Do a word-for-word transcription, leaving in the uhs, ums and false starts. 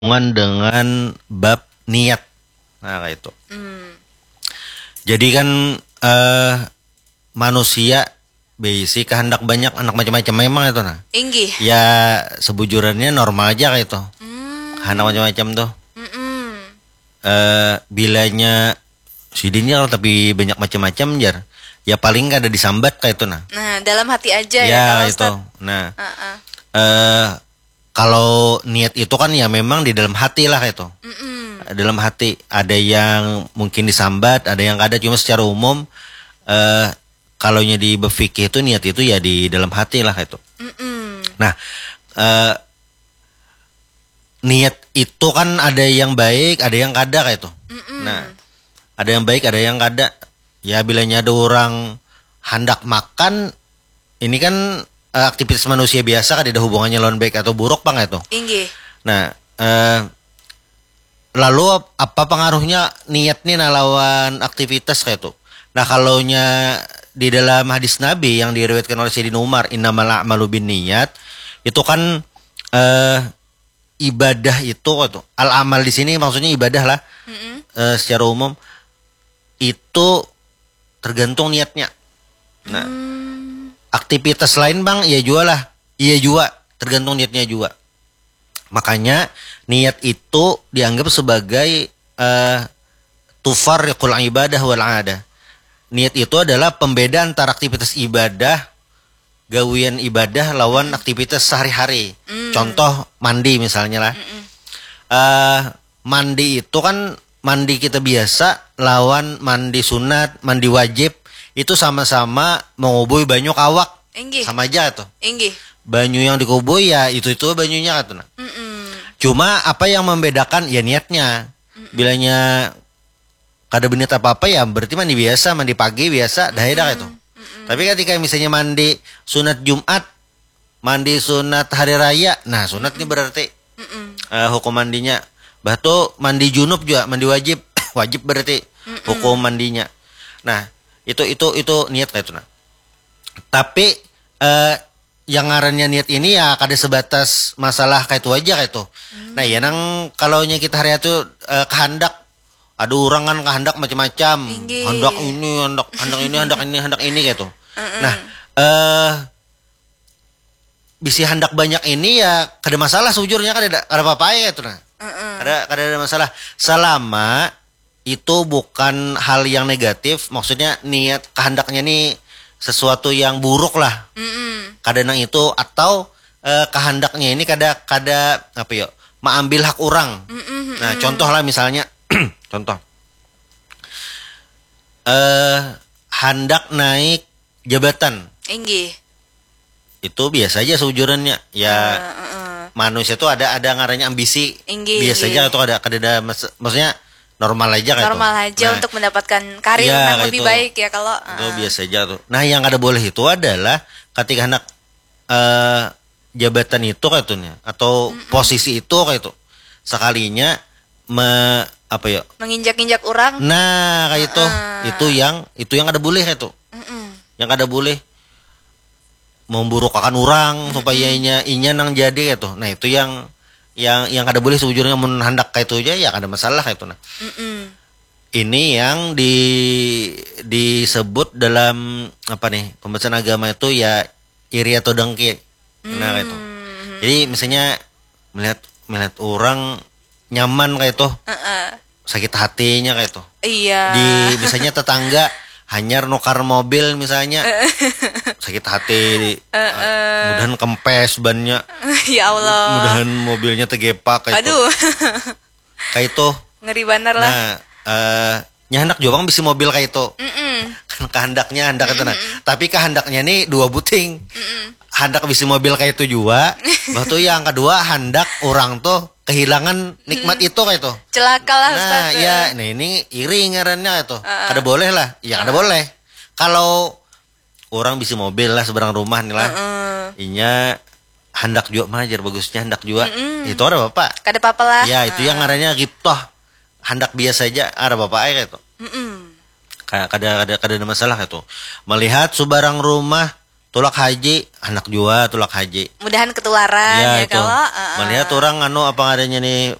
berhubungan dengan bab niat. Nah, kayak itu. Jadi kan eh manusia berisi kehendak banyak, anak macam-macam memang itu nah. Inggih. Ya sebujurannya normal aja kayak itu. Kehendak macam-macam tuh. Mm-mm. Eh bilanya sidin jar tapi banyak macam-macam jar. Ya paling kada disambat kayak itu nah. Nah, dalam hati aja ya, Ya kalau itu. Ustaz. Nah, Heeh. eh kalau niat itu kan ya memang di dalam hati lah itu. Mm-mm. Dalam hati ada yang mungkin disambat, ada yang kada, cuma secara umum eh kalau nya di berfikih itu niat itu ya di dalam hati lah itu. Mm-mm. Nah, eh niat itu kan ada yang baik, ada yang kada kayak itu. Mm-mm. Nah, ada yang baik, ada yang kada. Ya bilanya ada orang hendak makan, ini kan eh, aktivitas manusia biasa kan tidak hubungannya lawan baik atau buruk bang itu. Inggih. Nah, eh lalu ap- apa pengaruhnya niat nih nah lawan aktivitas kayak itu. Nah, kalau nya di dalam hadis Nabi yang diriwayatkan oleh Sayyidina Umar, innamal a'malu bin niat, itu kan eh ibadah itu kayak itu. Al amal di sini maksudnya ibadah lah. Mm-mm. Eh, secara umum itu tergantung niatnya. Nah, Hmm. aktivitas lain bang, iya jua lah, iya jua tergantung niatnya juga. Makanya niat itu dianggap sebagai eh, tufarriqul ibadah wal adah. Niat itu adalah pembeda antara aktivitas ibadah, gawian ibadah lawan aktivitas sehari-hari. Hmm. Contoh mandi misalnya lah. Mm-mm. Eh mandi itu kan mandi kita biasa lawan mandi sunat, mandi wajib itu sama-sama mengubui banyu ke awak. Inggih. Sama aja tuh. Inggih. Banyu yang dikubui ya itu-itu banyunya kan tuh nah. Mm-mm. Cuma apa yang membedakan ya niatnya. Bilanya kada berniat apa-apa ya berarti mandi biasa, mandi pagi biasa, dah ya dah itu. Tapi ketika misalnya mandi sunat Jumat, mandi sunat hari raya, nah sunat ini berarti Mm-mm. eh, hukum mandinya. Bah tu mandi junub juga, mandi wajib, wajib berarti hukum mandinya. Nah, itu itu itu niat kayak itu nah. Tapi eh, yang ngarannya niat ini ya kada sebatas masalah kayak itu aja kayak itu. Nah, ya nang kalau nya kita hari itu eh, kehendak, ada orang kan kehendak macam-macam. Inggih. Hendak ini, hendak hendak ini, hendak ini, hendak ini kayak itu. Nah, eh bisi hendak banyak ini ya kada masalah sejujurnya, kada ada kada apa-apa ya itu nah. Heeh. Kada kada ada masalah selama itu bukan hal yang negatif, maksudnya niat kehendaknya nih sesuatu yang buruk lah. Mm-mm. Kada nang itu atau eh, kehendaknya ini kada kada apa ya, mengambil hak orang. Mm-mm. Nah, contoh lah misalnya contoh eh hendak naik jabatan. Inggih. Itu biasa aja seujurannya. Ya Heeh. manusia tuh ada ada ngarannya ambisi. Inggih, Biasa inggih. Aja atau ada kada ada mas- maksudnya normal aja kayak Normal itu. Aja Nah, untuk mendapatkan karir Iya, yang kayak lebih itu. Baik ya kalau Itu heeh. Biasa aja tuh. Nah, yang kada boleh itu adalah ketika anak eh, jabatan itu kayak itu nih atau posisi itu kayak itu. Sekalinya me apa ya? Menginjak-injak orang. Nah, kayak itu. Heeh. Itu yang itu yang kada boleh kayak itu. Mm-mm. Yang kada boleh memburukakan orang supaya inya inya nang jadi kayak itu. Nah, itu yang yang yang kada boleh sejujurnya mun hendak kayak itu aja ya kada masalah kayak itu nah. Mm-mm. Ini yang di disebut dalam apa nih pembahasan agama itu ya iri atau dengki. Nah, kayak itu. Hmm. Jadi misalnya melihat melihat orang nyaman kayak itu, Heeh. Sakit hatinya kayak itu. Iya. Di misalnya tetangga hanyar nukar mobil misalnya, sakit hati. Mudahan kempes bannya, Ya Allah. Mudahan mobilnya tegepak kayak itu. Aduh. Kayak itu. Ngeri banar lah. Nah, eh nya hendak juga bang bisi mobil kayak itu. Mm-mm. Kan kehendaknya hendak itu nah. Tapi kehendaknya nih dua buting. Hendak bisi mobil kayak itu juga. Bah tuh yang kedua hendak orang tuh kehilangan nikmat itu kayak itu. Celaka lah Nah, Ustaz. Ya, nah ini iri ngarannya itu. Kada boleh lah. Ya kada boleh. Kalau orang bisi mobil lah seberang rumah nih lah. Heeh. Inya hendak juga majar bagusnya hendak juga. Itu ada bapak. Kada apa-apa lah. Ya, itu yang ngarannya giptoh. Hendak biasa aja, ada bapak aja itu. Mm-mm. Ka- Kada kada kada ada masalah itu. Melihat sebarang rumah tulak haji, hendak juga tulak haji. Mudahan ketularan Ya, ya, itu. Kalau heeh. Melihat orang anu apa adanya nih